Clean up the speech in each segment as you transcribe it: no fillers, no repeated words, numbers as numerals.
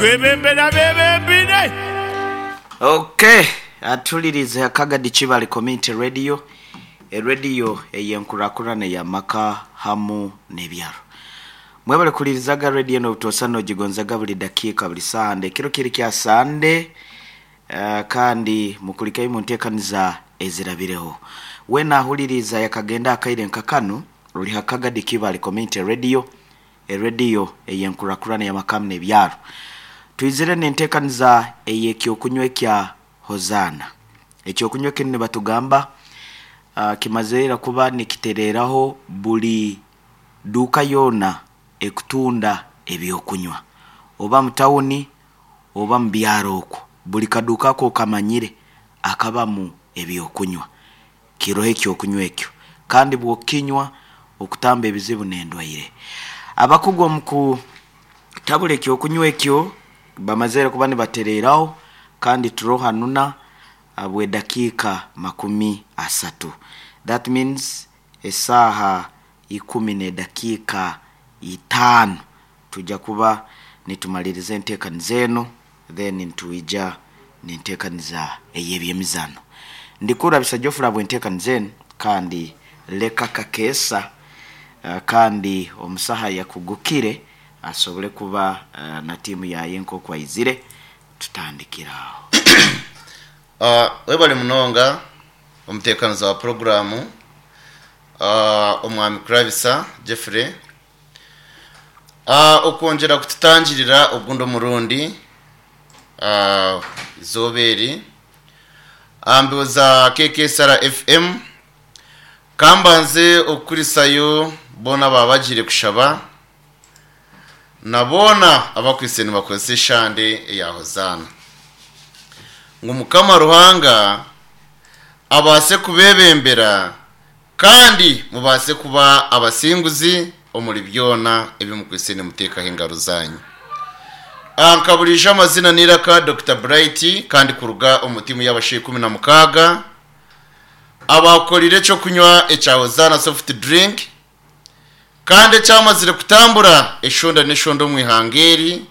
Twebembere abeebembeire. Ok, atulirize Kagadi Kibale Community Radio, erediyo ey'enkurakurana ey'amaka hamu n'ebyaro. Mwebale kuhulirizaga rediyo enu obutoosa nogigonzaga buli dakiika buli saaha ekiro kiri kya Sande eh, kandi mukulikeyo mu nteekaniza ezirabireho. Weena ahuliriiza yakagenda akaire nka kanu, ori ha Kagadi Kibale Community Radio, erediyo ey'enkurakurana ey'amaka hamu n'ebyaro. Twizire n'enteekaniza ey'ekyokunywa ekya Hozaana. Ekyokunywa kinu nibatugamba ah, kimazire ira kuba nikitereeraho buli duuka yoona ekutunda ebyokunywa. Oba mu tawuni oba mu byaro okwo, buli kaduuka aku okamanyire akabamu ebyokunywa, kiroho ekyokunywa ekyo. Kandi bw'okukinywa, okutamba ebizibu n'endwaire. Abakugu omu kutabura ekyokunywa ekyo bamazire kuba nibatereeraho kandi turoho hanuna habw'edakiika 30. That means esaaha ikumi n'edakiika itaano twija kuba nitumaliriza enteekaniza enu then nitwija n'enteekaniza ey'eby'emizaano. Ndikurabisa Geoffrey ahabw'enteekaniza enu kandi leka Kakeesa kandi omusaha ayakugukire asobole kuba na tiimu yaaye nk'oku aizire tutandikire aho. Webale munonga omuteekaniza wa puroguraamu Omwami Kurabisa Geoffrey okwongyera kututangirira ogundi omurundi eizooba eri aha mbeho za KKSR FM. Ka mbanze okukurisayo boona abaaba bagiire kushaba na boona abakwaitse nibakozesa eshande eya Hozaana ngu Mukama Ruhanga abaase kubeebembera kandi mubaase kuba abasinguzi omuri byona ebi mukwaitse nimuteekaho engaro zaanyu. Nka buriijo amazina n'eiraka Dokita Bright kandi kuruga omu tiimu y'abashaija 16 abaakorire eky'okunywa ekya Hozaana Soft Drink kandi ekyamazire kutambura eshonda n'eshonda omu ihanga eri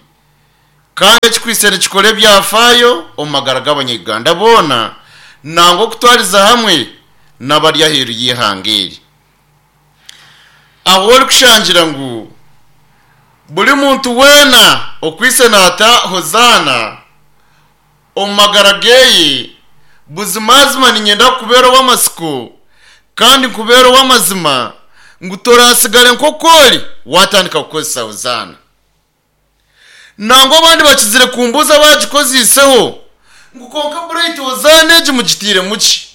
kandi ekikwaitse nikikora ebyafaayo omu magara g'abanya-Uganda boona nangwa okutwariza hamwe n'abari aheeru y'eihanga eri. Ahu orikushangira ngu buri muntu weena okwaitse naata Hozaana omu magara geye, buzimazima niinyenda kukubeera ow'amatsiko kandi nkubeere ow'amazima ngu toraatsigare nk'oku ori waatandika kukozesa Hozaana. Nangwa abandi bakizire kumbuuza abaagikoziiseho ngu kwonka Bright Hozaana egi mugitairemu ki?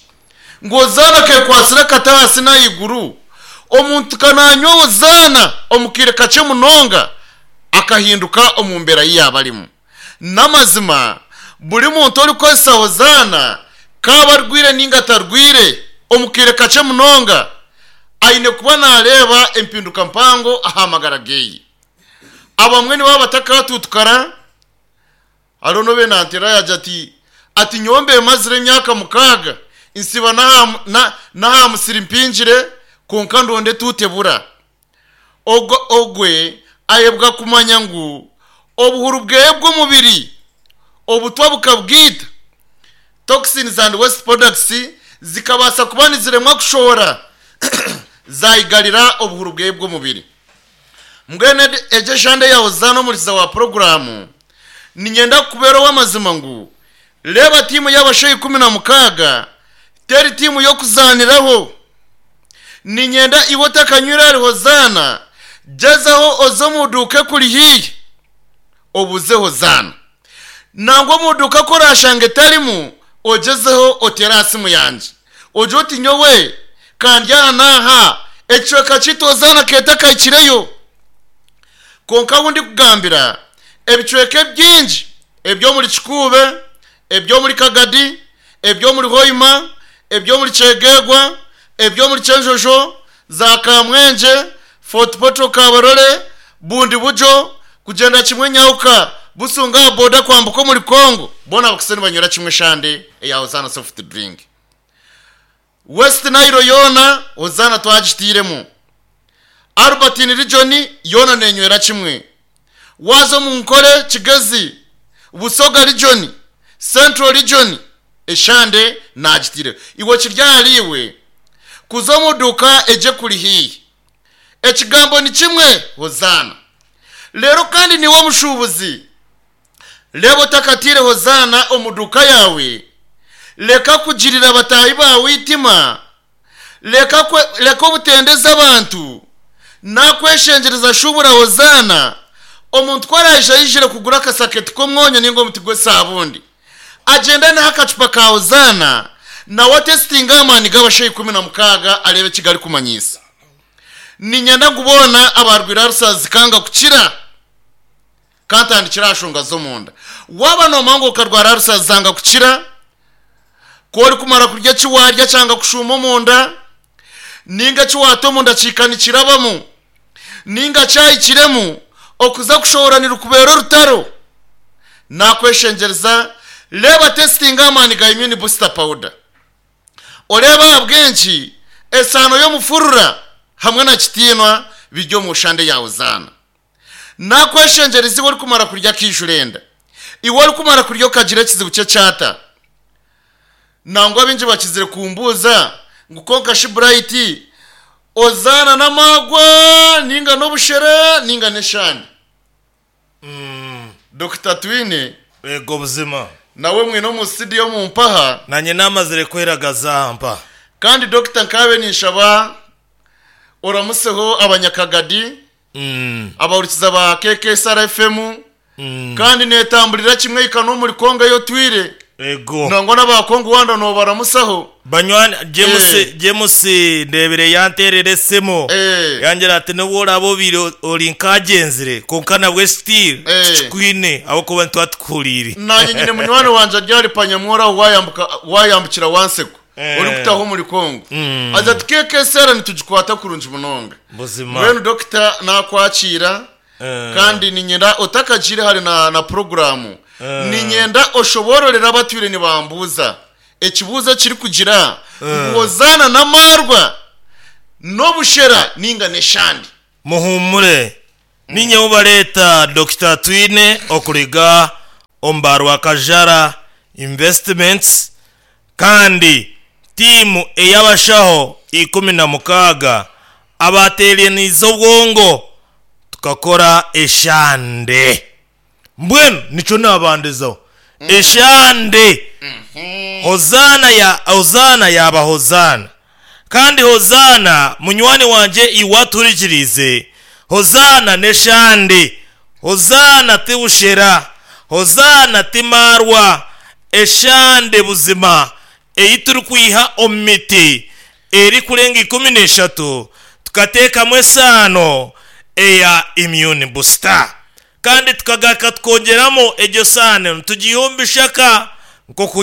Ngu Hozaana keekwatsire akati ahansi n'ahaiguru? Omuntu ka naanywa Hozaana omu kaire kakye munonga akahinduka omu mbeera ei yaaba arimu. N'amazima, buri muntu orikukozesa Hozaana, kaabe arwaire nainga atarwaire, omu kaire kakye munonga aine kuba naareeba empinduka mpango aha magara ge. Abamwe nibaba batakatuutukara. Hariho n'obu naanteera yaagira ati, Ati nyowe mbe mazire emyaka mukaaga nsiba n'aha musiri mpingire, kwonka ndonda etuuta ebura. Ogwo ogwe ayebwa kumanya ngu obuhuru bweye bw'omubiri obutwa bukabwita, toxins and waste products zikabaasa kuba niziremwa kushohora zayigarira obuhuru bweye bw'omubiri. Mbwenu egyo eshande eya Hozaana omurikiza wa puroguraamu, niinyenda kukubeera ow'amazima ngu reeba tiimu y'abashaija 16 teri tiimu y'okuzaaniraho. Niinyenda iwe otakanywire ahari Hozaana, gyezaho oze omu duuka ekuri haihi obuuze Hozaana. Nangwa omu duuka ku oraashanga etarimu, ogyezeho oteere aha simu yangye ogire oti nyowe ka ndi aha n'aha, ekicweka kyaitu Hozaana keeta kahikireyo. Kwonka ahu ndikugambira, ebicweka ebingi eby'omuri Kikuube, eby'omuri Kagadi, eby'omuri Hoima, eby'omuri Kyegegwa, eby'omuri Kyenjojo, za Kamwengye, Fort Portal Kabarole, Bundibugyo, kugyenda kimwe Nyahuka, Busunga aha boda kwambuka omuri Congo, boona bakwaitse nibanywera kimwe eshande eya Hozaana Soft Drink. West Nile yoona Hozaana twagitairemu. Albertine Region yoona nenywera kimwe. Waaza omu Nkore, Kigezi. Busoga region, Central region eshande naagitaireho. Iwe kiri ahariiwe kuza omu duuka egyo ekuri haihi. Ekigambo ni kimwe, Hozaana. Reero kandi niiwe omushuubuzi, reeba otakataire Hozaana omu duuka yaawe, reka kugirira bataahi baawe eitima, Reka kwe, reka obutendeza abantu. Nakweshengyereza shuubura Hozaana, omuntu ku araije aijire kugura akasaketi k'omwonyo nainga omuti gw'esaabundi, agyende anahe akacupa ka Hozaana, nawe atesitinge amaani g'abashaija 16 areebe eki garikumanyiisa. Niinyenda ngu boona abaarwaire alusazi zikanga kukira. Ka ntandikire aha nshonga z'omunda. Waaba noomanya ngu okarwara alusazi zanga kukira, Ku orikumara kurya eki waarya kyanga kushuuma omunda, nainga eki waata omunda kihika nikirabamu, nainga kyahikiremu, okuza kushohora nirukubeera orutaro. Naakweshengyereza, reeba testinga amaani ga Immune Booster Powder. Oreebe ahabw'enki esaano y'omufurura hamwe na kitiinwa biri omu shande ya Hozaana. Naakweshengyereza iwe orikumara kurya akaijura enda, iwe orikumara kurya okagira ekizibu ky'ekyata. Nangwa baingi bakizire kumbuuza ngu kwonka shi Bright ozaana n'amaagwa nainga n'obushera nainga n'eshande? Dokita Twine Eego buzima. nawe mwine omu studio omu mpaha. Naanye naamazire kweragaza aha mpaha. Kandi Dokita nkaabe ninshaba oramuseho abanyakagadi, abahurikiza ba KKSR FM, kandi neetamburira kimwe ehika n'omuri Congo ei otwire. Ego. Nangwa n'aba Congo wanda noobaramusaho. Banywani, James, James ndeebire yanteerera esimu yangira ati n'obu oraabe obaire ori nk'agyenzire kwonka nabwe still tukikwine ahabw'okuba nituba tukuhuriire. Naanye nyine munywani wangye ari ahari Panyamworo aho waayambuka waayambukira Wanseko. Orikutaha omuri Congo. Haza ati KKSR nitugikwata kurungi munonga. Buzima. Mbwenu dokita nakwakiira kandi niinyenda otakagiire hare na na puroguraamu, niinyenda oshoboororere abatwire nibambuuza ekibuuzo ekirikugira ngu Hozaana n'amaarwa n'obushera nainga n'eshande? Muhuumure, niinye obareeta Dokita Twine okuriga omu ba Rwakajara Investments kandi tiimu ey'abashaho 16 abaateeraniize obwongo tukakora eshande. Mbwenu nikyo naabandizaho. Eshande! Hozaana ya Hozaana yaaba Hozaana. Kandi Hozaana, munywani wangye iwe atuhurikiriize, Hozaana n'eshande. Hozaana ti bushera. Hozaana ti maarwa. Eshande buzima ei turikwiha omu miti erikurenga 13 tukateekamu esaano eya immune booster. Kandi tukagaruka tukongyeramu egyo saano nitugiiha omu bishaka nk'oku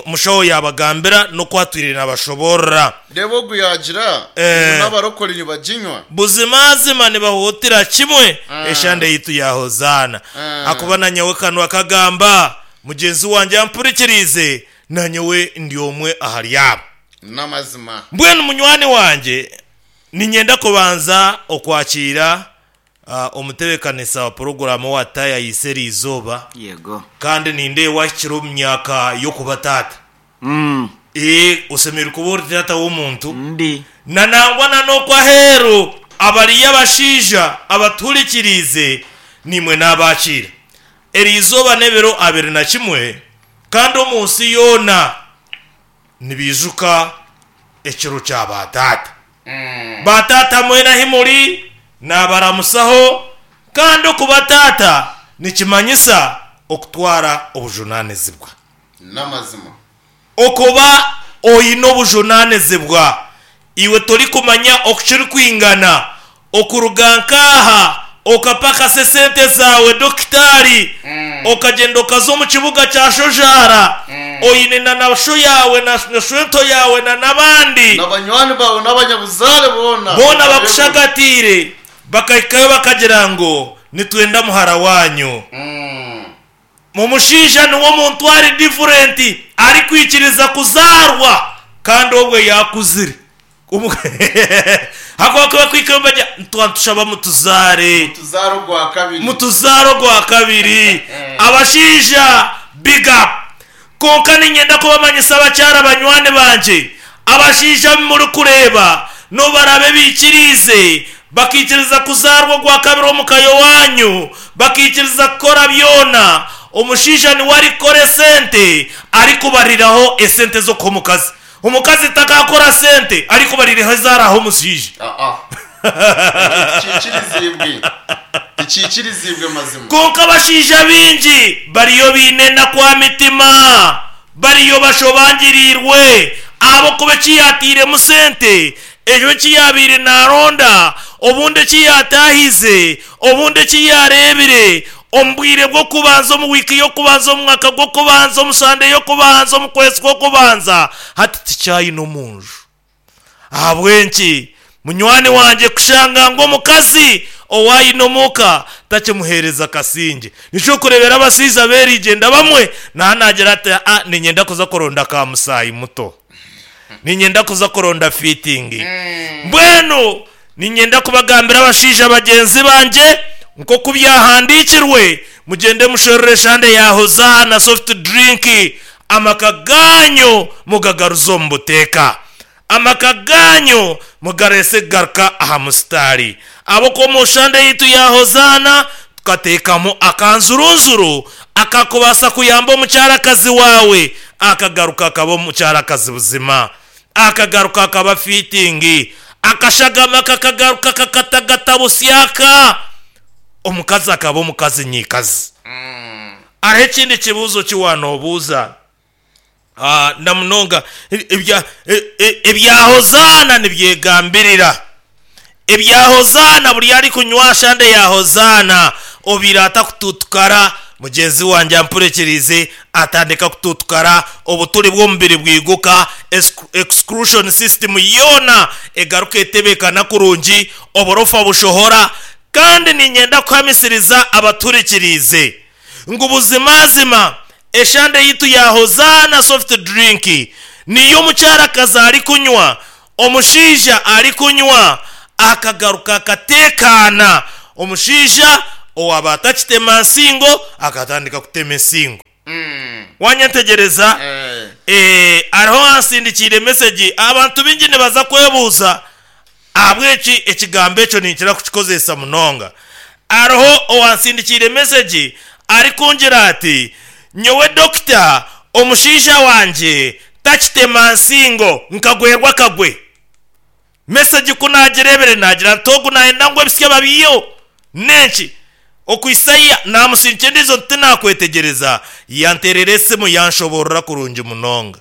omushaho yaabagambira n'oku atwire naabashoboorora. Reeba ogu yaagira ngu n'abarokore nibaginywa. Buzimazima nibahuutira kimwe eshande yaitu ya Hozaana. Ahakuba na nyowe kanwa kagamba, mugyenzi wangye ampurikiriize, na nyowe ndi omwe ahari abo. N'amazima. Mbwenu munywani wangye, niinyenda kubanza okwakiira Omutebeekanisa wa puroguraamu owa taayayiise eri izooba Yego. kandi nindeeba wahikire omu myaka y'okuba taata. Ee, oshemereire kuba ori taata w'omuntu. Ndi. Na nangwa na n'okwo aheeru abariyo abashaija abatuhurikiriize, naimwe naabakiira. Eri izooba n'ebiro 21 kandi omu nsi yoona nibaijuka ekiro kya baataata. Baataata mwena ahi muri, naabaramusaho, kandi okuba taata nikimanyisa okutwara obujunaanizibwa. N'amazima. Okuba oine obujunaanizibwa, iwe torikumanya oku kirikwingana okuruga nk'aha okapakasa esente zaawe dokitaari, okagyenda okaza omu kibuga kya Shojaara oine na na sho yaawe na shwento yaawe na n'abandi. Na banywani baawe n'abanyabuzaare boona. Boona bakushagatiire bakahikayo bakagira ngu nitwenda muhara waanyu. Omushaija niwe omuntu ari different arikwikiriza kuzaarwa kandi obwe yaakuzire. Ahakuba ku bakuhikayo nibagira ngu nitushaba mutuzaare. Mutuzaare ogwa kabiri. Mutuzaare ogwa kabiri. Abashaija big up. Kwonka niinyenda kubamanyisa abakyara banywani bangye, abashaija abu murikureeba n'obu baraabe baikiriize bakaikiriza kuzaarwa ogwa kabiri omu ka y'owaanyu, bakaikiriza kukora byona, omushaija niwe arikukora esente arikubariraho esente z'okuha omukazi. Omukazi takaakora sente arikubariraho ezi araahe omushaija. Aa. Ekyo tikiikiriziibwe. Tikiikiriziibwe mazima. Kwonka abashaija baingi bariyo baine enaku aha mitima, bariyo bashobangiriirwe ahabw'okuba eki yaatairemu sente, ekyo eki yaabaire naaronda, obundi eki yaataahize, obundi eki yaareebire omu bwire bw'okubanza, omu wiiki y'okubanza, omu mwaka gw'okubanza, omu sande y'okubanza, omu kwezi kw'okubanza, hati tikyayine omu nju. Ahabw'enki munywani wangye kushanga ngu omukazi ou aine omuka takimuheereza kasingye? Nikyo orikureebera abashaija b'erigyenda abamwe naaba naagira ati, A niinyenda kuza kuronda ka musaayi muto. Niinyenda kuza kuronda fiitingi. Mbwenu niinyenda kubagambira abashaija bagyenzi bangye, nk'oku byahandiikirwe, mugyende musherure eshande ya Hozaana soft drink, Amaka gaanyu mugagaruze omu buteeka. Amaka gaanyu mugareese kugaruka aha musitaari. Ahabw'okuba omu shande yaitu ya Hozaana tukateekamu akanzurunzuru akakubaasa kuyamba omukyarakazi waawe akagaruka akaba omukyarakazi buzima, akagaruka akaba fiitingi, akashagama kakagaruka kakatagata busyaka, omukazi akaba omukazi nyiikazi. Hariho ekindi kibuuzo ki waanoobuuza? Na munonga ebya Hozaana nibyegambirira. Ebya Hozaana buri arikunywa aha shande ya Hozaana obaire atakutuutukara, mugyenzi wangye ampurekiriize atandika kutuutukara, obuturi bw'omubiri bwiguka, excrution system yoona egaruka etebeekana kurungi, oburofa bushohora, Kandi niinyenda kuhamisiriza abaturikiriize ngu buzimazima eshande yaitu ya Hozaana Soft Drink niyo omukyarakazi arikunywa, omushaija arikunywa akagaruka akateekaana, omushaija owaaba atakitema nsingo akatandika kutema ensingo. Wanyetegyereza? Hariho owansindikiire mesegi, abantu baingi nibaza kwebuuza Ahabw'enki ekigambo ekyo ninkira kukikozesa munonga? Hariho owansindikiire mesegi arikungira ati, Nyowe dokita, omushaija wangye takitema nsingo, nkagwerwa akagwe. Mesegi ku naagireebire naagira nti ogu naayenda ngu ebisya babiiheho. N'enki? Okuhitsya naamusindikira endiijo nti tinaakwetegyereza, yanteerera esimu yanshoboorora kurungi munonga.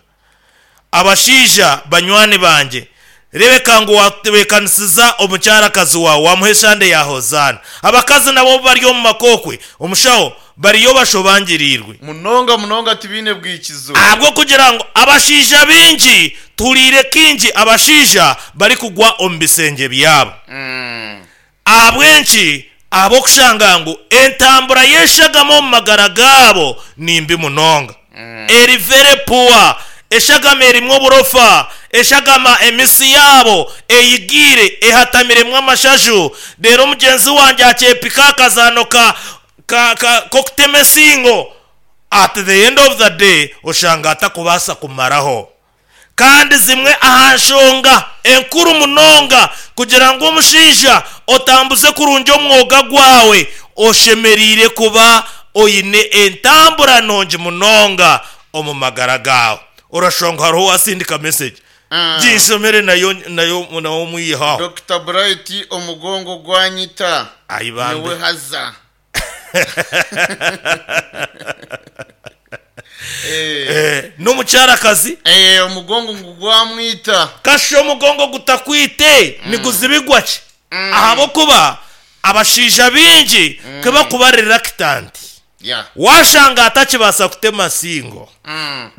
Abashaija banywani bangye, rebeka ngu waatebeekanisiza omukyarakazi waawe, waamuha eshande ya Hozaana. Abakazi nabo obu bari omu maka okwe, omushaho, bariyo bashobangiriirwe. Munonga munonga tibaine bwikizo. Ahabw'okugira ngu abashaija baingi, tuhuriire kaingi abashaija barikugwa omu bisengye byabo. Ahabw'enki? Ahabw'okushanga ngu entambura y'eshagama omu magara gaabo ni mbi munonga. Eri very poor. Eshagama erimu oburofa, eshagama emisi yaabo eyigiire ehatamiremu amashaju. Reero mugyenzi wangye akyepika akazaano ka ka ka k'okutema ensingo, at the end of the day oshanga atakubaasa kumaraho. Kandi zimwe aha nshonga enkuru munonga kugira ngu omushaija otambuze kurungi omwoga gwawe, oshemereire kuba oine entambura nungi munonga omu magara gaawe. Orashusha ngu hariho owasindika message. Ginshomere nayo nayo nawe omwiheho aho. Dokita Bright omugongo gwanyita Ai bambe. nyowe haza. Eh, n'omukyarakazi Eh, omugongo ngu gwamwita. Kasha omugongo gutakwite niguzibigwa ki? Ahabw'okuba abashaija baingi ku bakuba reluctant, Yeah. waashanga atakibaasa kutema nsingo.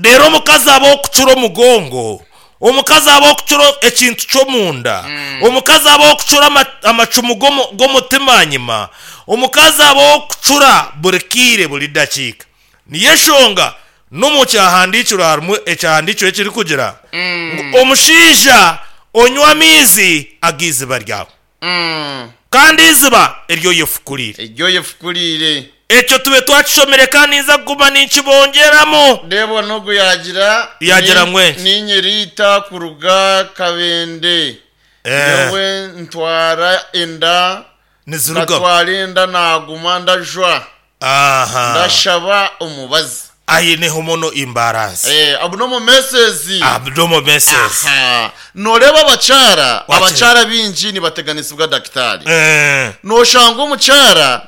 Reero omukazi aba ow'okucura omugongo, omukazi aba ow'okucura ekintu ky'omunda, omukazi aba ow'okucura amacumu g'omutima ahanyima, omukazi aba ow'okucura buri kaire buri dakiika. Niyo enshonga n'omu kyahandiikirwe harimu ekyahandiikirwe ekirikugira ngu omushaija. Onywe amaizi ag'eiziba ryawe. Kandi eiziba eri oyefukuriire. Eri oyefukuriire. Ekyo tube twakishomire kandi ninza kuguma ninkibongyeramu. Reeba n'ogu yaagira, Yaagira ngu enki? Niinye Rita kuruga Kabende. Nyowe ntwara enda, Nizirugamu. nkatwara enda naaguma ndajwa. Aha. Ndashaba omubazi. Aine hormonal imbalance. Eh, abnormal menses. Abnormal menses. Aha. Nooreeba abakyara, Wakire. abakyara baingi nibateganisibwa dakitaari. Eh. Nooshanga omukyara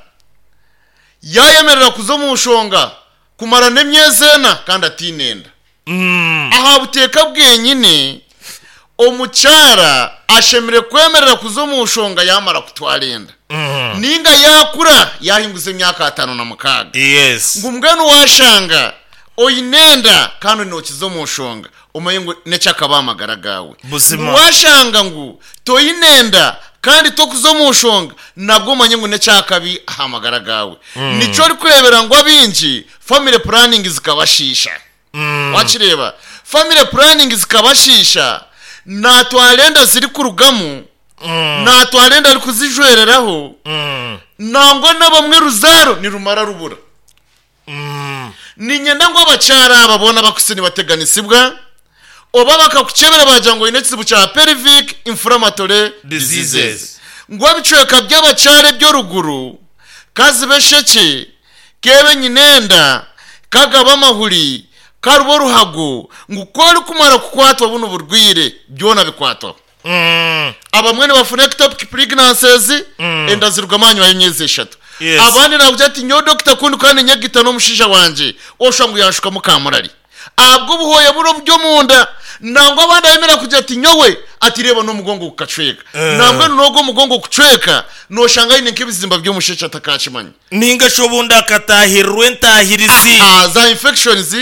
yaayemerera kuza omu nshonga kumara n'emyezi ena kandi ataine enda. Aha buteeka bwenyine, omukyara ashemereire kwemerera kuza omu nshonga yaamara kutwara enda. Nainga yaakura yaahinguza emyaka 56. Yes. Ngu mbwenu waashanga oine enda kandi nookiza omu nshonga, omanye ngu n'eky'akabi aha magara gaawe. Buzima. Ngu waashanga ngu toine enda kandi tokuza omu nshonga, nabwo omanye ngu n'eky'akabi aha magara gaawe. Nikyo orikureebera ngu abaingi family planning zikabashiisha. Wakireeba? Family planning zikabashiisha, naatwara enda zirikurugamu, naatwara enda arikuzijwereraho, nangwa n'abamwe ruzaaro nirumara rubura. Niinyenda ngu abakyara aba boona abakutsire nibateganisibwa, oba bakakukyebera baagira ngu oine ekizibu kya pelvic inflammatory diseases, ngu ebicweka by'abakyara eby'oruguru kazibe eshekye, Keebe nyinenda, kagaba amahuri, karuba oruhago, ngu ku orikumara kukwatwa bunu burwire, byona bikwatwaho. Abamwe nibafuna ectopic pregnancies, enda zirugamu ahanyima y'emyezi eshatu. Yes. Abandi nakugira ati nyowe dokita ku ndikuba ninyegita n'omushaija wangye, oshusha ngu yanshukamu kamurari. Ahabw'obuhooya buri oburi omunda. Nangwa abandi ayemerera kugira ati nyowe, ati reeba n'omugongo gukacweka. Nambwenu n'ogwo omugongo kucweka, noshanga aine nk'ebizimba by'omushekye atakakimanya. Nainga shi obundi akataahirirwa entaahirizi. Aha, za infections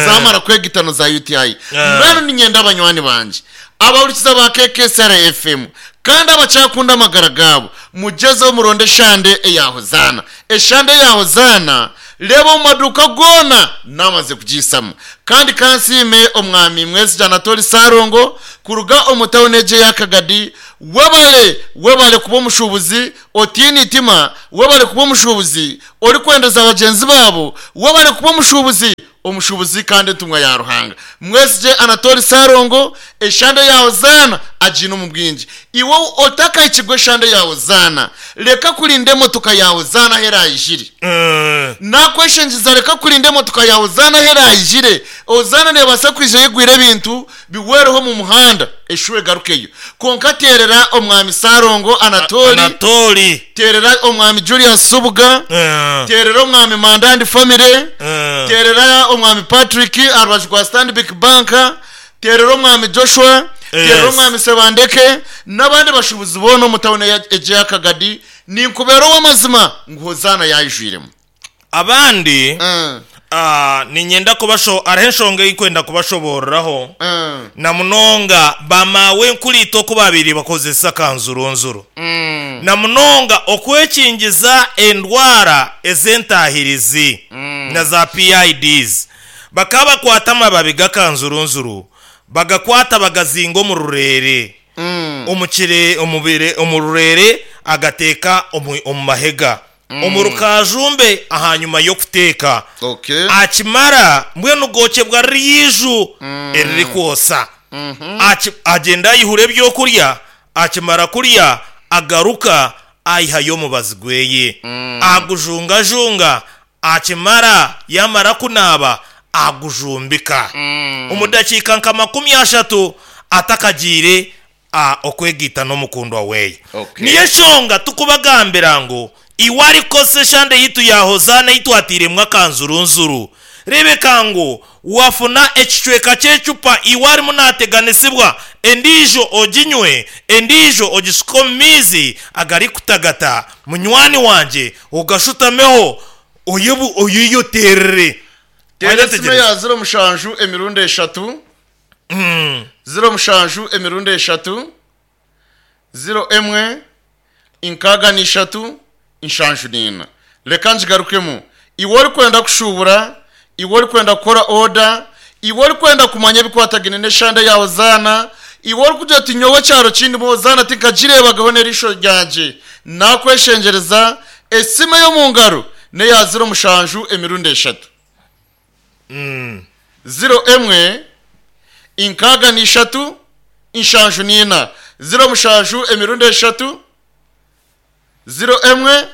zamara kwegita na za UTI. Mbwenu niinyenda banywani bangye, abahurikiza ba KKSR FM kandi abakyakunda amagara gaabo, mugyezeho muronde eshande eya Hozaana. Eshande eya Hozaana, reeba omu maduuka goona naamaze kugiisamu. Kandi ka nsiime Omwami Mwesigye Anatoli Ssalongo kuruga omu tauni egi eya Kagadi. Webale, webale kuba omushuubuzi Otiine itima, webale kuba omushuubuzi orikwendeza bagyenzi baabo, webale kuba omushuubuzi, omushuubuzi kandi entumwa ya Ruhanga. Mwesigye Anatoli Ssalongo, eshande ya Hozaana agiine omu bwingi. Iwe otakahikirwe eshande ya Hozaana, reka kurinda emotoka ya Hozaana ahu eraijire. Nakweshengyereza reka kurinda emotoka ya Hozaana ahu eraijire. Hozaana neebaasa kwija eyegwire ebintu bihwereho omu muhanda eshuba egarukeyo. Kwonka teerera Omwami Ssalongo Anatoli, Anatoli. teerera Omwami Julius Subuga, teerera Omwami Manda and family, teerera Omwami Patrick aha rubaju rwa Stanbic Bank, teerera Omwami Joshua, teerera Yes. Omwami Sebandeke n'abandi bashuubuzi boona omu tawuni egi eya Kagadi. Ninkubeera ow'amazima ngu Hozaana yaijwiremu. Abandi, niinyenda kubasho hariho enshonga ei nkwenda kubashoboororaho, na munonga ba maawenkuriitwe oku baabaire bakozesa kanzurunzuru, na munonga okwekingiza endwara ez'entaahirizi na za PIDs. Bakaba bakwata amababi g'akanzurunzuru bagakwata bagazinga omu rureere. Omu kire, omu bire, omu rureere agateeka omu, omu mahega. Omu rukaajumbe ahanyima y'okuteeka. Okay. Akimara, mbwenu gookyebwa riri eiju eririkwosa. Aki, agyenda ayihura ebyokurya, akimara kurya agaruka aihayo omubazi gweye. Agujungajunga, akimara, yaamara kunaaba, agujumbika. Omu dakiika nka 30 atakagiire a okwegaita n'omukundwa weye. Okay. Niyo enshonga tukubagambira ngu iwe arikukozesa eshande yitu ya Hozaana ei twatairemu akanzurunzuru, rebeka ngu wafuna ekicweka ky'ecupa iwe arimu nateganisibwa, endiijo oginywe, endiijo ogishuke omu maizi agarikutagata, munywani wangye ogashutameho oyebu oyeyoterere. Teera esimu Wanyetegereza? eya ziro mushanju emirundi eshatu, 07 emirundi eshatu, 01 63 74. Reka ngigarukemu. Iwe orikwenda kushuubura, iwe orikwenda kukora oda, iwe orikwenda kumanya ebikwatagaine n'eshande ya Hozaana, Iwe orikugira oti nyowe ekyaro kindimu Hozaana tinkagireebagaho n'eriisho ryangye, naakweshengyereza, esimu ey'omu ngaro n'eya ziro mushanju emirundi eshatu. Ziro emwe, inkaaga na ishatu, nshanju na ina. Ziro mushanju emirundi eshatu. Ziro emwe,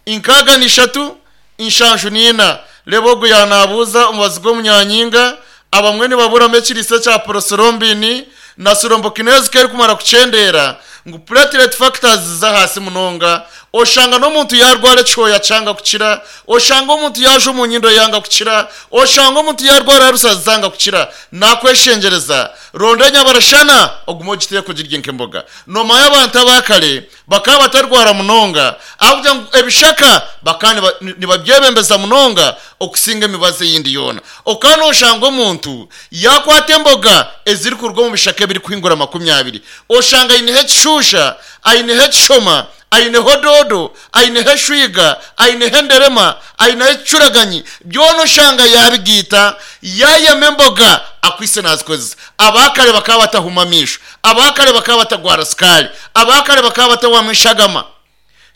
inkaaga na ishatu, nshanju na ina. Reeba ogu yaanaabuuza omubazi gw'omunyanyinga, Abamwe nibaburamu ekiriisa ekya porosirombini na sirombokinazi ku erikumara kukyendeera ngu platelet factors ziza ahaasi munonga, oshanga n'omuntu yaarwara ekihooya kyanga kukira, oshanga omuntu yaajwa omu nyindo yanga kukira, oshanga omuntu yaarwara arusa zanga kukira. Naakweshengyereza, ronda enyabarashana ogume ogiteeke ogirye nk'emboga. Noomanya abantu aba kare bakaba batarwara munonga ahabw'okugira ngu ebishaka bakaba nibabyebembeza munonga okusinga emibazi eyindi yoona. Okaba nooshanga omuntu yaakwata emboga ezirikuruga omu bishaka ebirikuhingura 20, oshanga aineho ekishuusha, aineho ekishoma, aineho doodo, aineho eshwiga, aineho enderema, aineho ekicuraganyi, byona oshanga yaabigaita, yaayema emboga akwaitse naazikozesa. Abaakare bakaba batahuma amaisho. Abaakare bakaba batagwara sukaari. Abaakare bakaba batahwamu eshagama.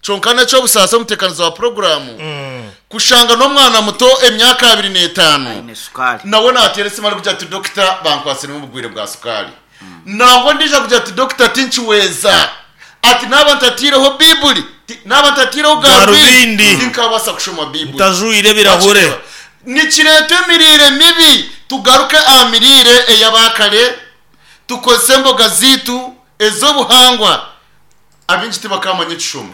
Kyonka n'eky'obusaasi omuteekanizi wa puroguraamu kushanga n'omwana muto emyaka 25 Aine sukaari. nawe naateera esimu arikugira ati dokita bankwatsiremu obugwire bwa sukaari. Nangwa ondiijo arikugira ati dokita tinkiweeza. Ati naaba ntataireho Baibuli, naaba ntataireho garubindi Garubindi. tinkabaasa kushoma Baibuli. Ntajwaire ebirahure. Nikireeta emiriire mibi. Tugaruke aha miriire ey'abaakare. Tukozese emboga zaitu ez'obuhangwa. Abaingi tibakamanya ekishomo.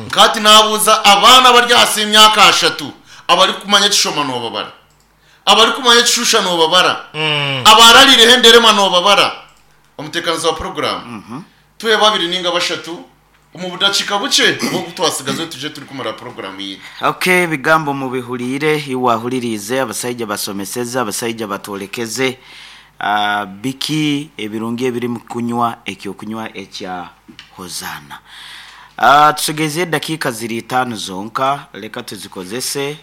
Nka hati naabuuza abaana abari ahansi y'emyaka ashatu abarikumanya ekishoma noobabara? Abarikumanya ekishusha noobabara? Abaarariireho enderema noobabara? Omuteekanizi wa puroguraamu, tuhe babiri nainga bashatu Omu budakiika bukye obu twatsigazeho twije turikumara puroguraamu yaitu. Ok ebigambo mubihuriire iwe ahuririize abasaija basomeseze abasaija batworekeze biki ebirungi ebiri mu kunywa ekyokunywa ekya Hozaana. Tusigaizeyo edakiika ziri itaano zonka leka tuzikozese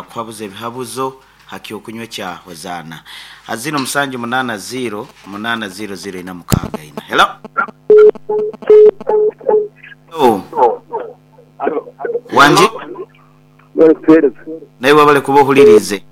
kuhabuza ebihabuzo ha kyokunywa ekya Hozaana. Aziro musanju munaana ziiro munaana ziiro ziiro ina mukaaga ina. Hello? Hello? Wangi? Naiwe wabare kuba ohuririize.